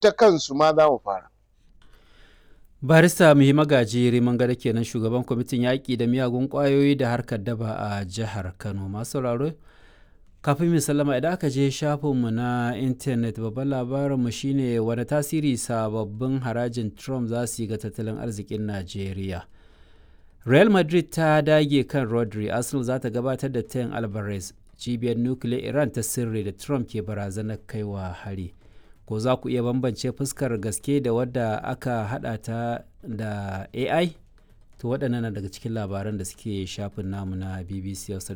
Ta kansu ma za mu fara. Barista Muhi Magaji Rimin Gado kenan, shugaban kwamitin yaƙi da miyagun ƙwayoyi da harkar daba a jihar Kano. Masu sauraro, kafin mu sallama, idan aka je shafinmu na intanet, babban labarinmu shine wani tasiri sababbin harajin Trump za su yi ga tattalin arzikin Najeriya. Real Madrid ta dage kan Rodri, Arsenal za ta gabatar da Ten Alvarez, cibiyar nukiliyar Iran ta sirri da Trump ke barazanar kaiwa hari. Ko za ku iya bambance fuskar gaske da wadda aka hada ta da AI? To, waɗannan na daga cikin labaran da suke shafin namu na BBC Hausa.